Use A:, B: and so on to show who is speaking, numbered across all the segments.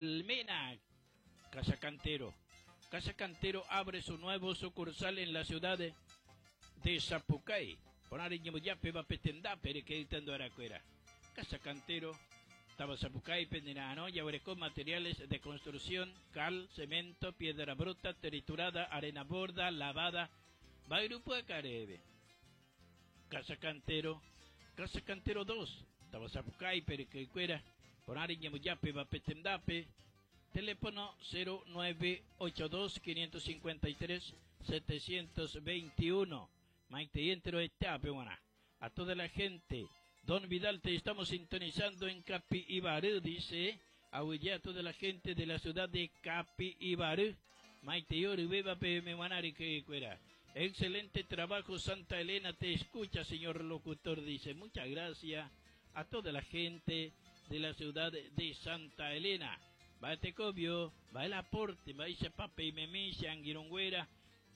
A: Almena, Casa Cantero. Casa Cantero abre su nuevo sucursal en la ciudad de Sapucay. Porãre ñembojápe va pe tendápe rekeýta arakuéra. Casa Cantero, Tava Sapucay, Penderano, jaguereko materiales de construcción, cal, cemento, piedra bruta, triturada, arena borda, lavada, mba'yru acarebe. Casa Cantero, Casa Cantero 2, Tava Sapucay, Perequecuera, Porãre ñembojápe va pe tendápe, teléfono 0982 553 721. Maite entero etape, A toda la gente, Don Vidal, te estamos sintonizando en Capiibary, dice. Ahuye a toda la gente de la ciudad de Capiibary. Maite Ori, beba que cuera. Excelente trabajo, Santa Elena, te escucha, señor locutor, dice. Muchas gracias a toda la gente de la ciudad de Santa Elena. Va te cobio, va el aporte, va ese pape y memisha, anguirongüera,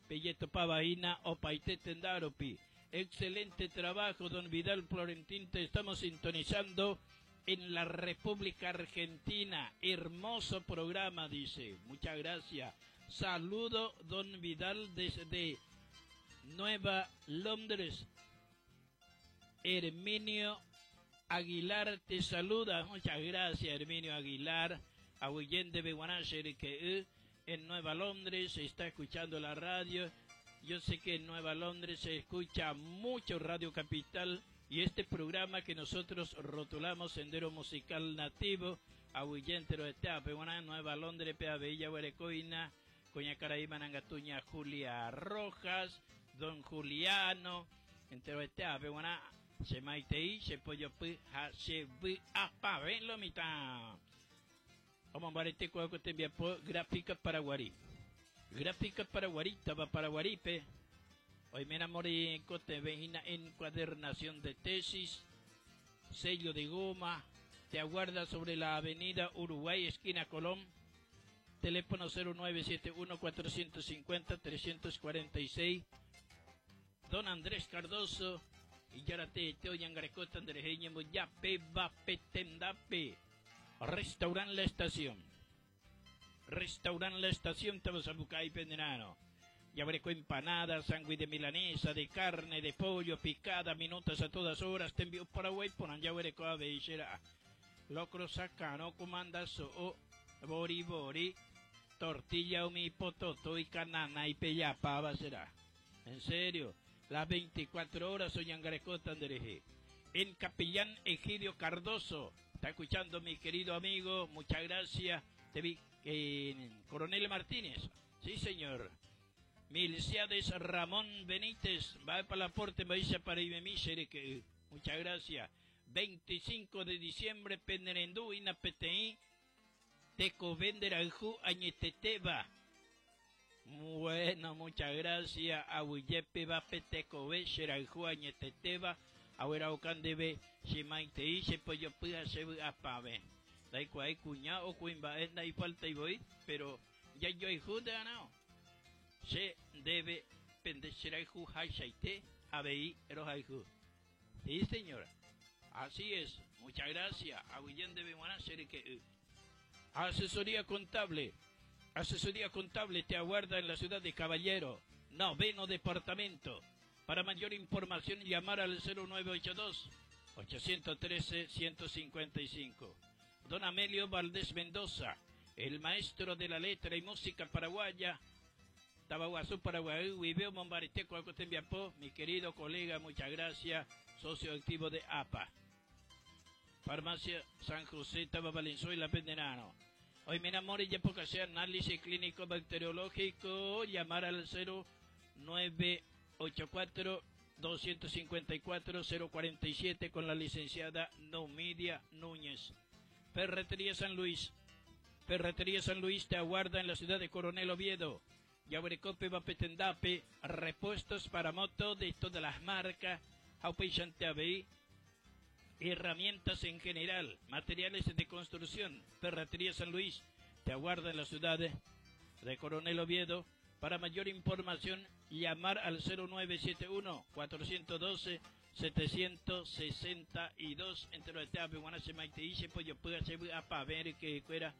A: pelleto pavaina o paite tendaropi. Excelente trabajo, don Vidal Florentín, te estamos sintonizando en la República Argentina. Hermoso programa, dice. Muchas gracias. Saludo, don Vidal, desde Nueva Londres. Herminio Aguilar te saluda. Muchas gracias, Herminio Aguilar. Aguillende Beguanacher que en Nueva Londres se está escuchando la radio. Yo sé que en Nueva Londres se escucha mucho Radio Capital y este programa que nosotros rotulamos Sendero Musical Nativo, Aguillente lo está, Nueva Londres, Pea Bella, Huerecoina, Coña Caraíba, Nangatuña, Julia Rojas, Don Juliano, entero está, Peguana, se maitei, se pollo pu, ja, se vi, apa, ven lo mitad. Vamos a ver te envía por Gráfica Paraguarí. Gráfica Paraguarí, taba Paraguaripe. Hoy me enamoré cote vejina encuadernación de tesis, sello de goma, te aguarda sobre la avenida Uruguay, esquina Colón. Teléfono 0971 450 346. Don Andrés Cardoso y Yarate Teo Yangarecota Andrés Yape Vape Tendape. Restaurant La Estación. Restaurant La Estación Tabasabucay Penderano. Ya veré con empanadas, sándwich de milanesa, de carne, de pollo, picada, minutas a todas horas. Te envío Paraguay por allá veré con a Locro sacano, comanda so, bori bori, tortilla umi pototo y canana y pellapava será. En serio, las 24 horas soy Angarecota Andereje. En Capellán Egidio Cardoso. Está escuchando mi querido amigo, muchas gracias. Te vi en Coronel Martínez. Sí, señor. Milciades Ramón Benítez, va para la aporte, me dice para que muchas gracias. 25 de diciembre, Penderendú, Inapetei, Teco Venderaju, Añeteteba. Bueno, muchas gracias. Ahuyepe va Peteco Vesheraju, Añeteteba. Ahora Ocandebe, Shimaite, se pollo puya se apave. Dai cuñado o cuimba, es y falta y voy, pero ya yo y juda no. Se debe pendeceraju haishaite, abei erojaju. Sí, señora. Así es. Muchas gracias. Aguillén debe que Asesoría contable. Asesoría contable te aguarda en la ciudad de Caballero, noveno departamento. Para mayor información llamar al 0982 813 155. Don Amelio Valdés Mendoza, el maestro de la letra y música paraguaya, Tabaguazú, Paraguay, Huibeo, Mombariteco, Acotembiapó, mi querido colega, muchas gracias, socio activo de APA. Farmacia San José, Taba Valenzuela, Penderano. Hoy me enamoré ya poca sea análisis clínico bacteriológico, llamar al 0984 254 047 con la licenciada Numidia Núñez. Ferretería San Luis. Ferretería San Luis te aguarda en la ciudad de Coronel Oviedo. Yabrecope Bapetendape, repuestos para moto de todas las marcas, herramientas en general, materiales de construcción. Ferretería San Luis te aguarda en la ciudad de Coronel Oviedo. Para mayor información, llamar al 0971 412 762 entre los pollo ver que fuera.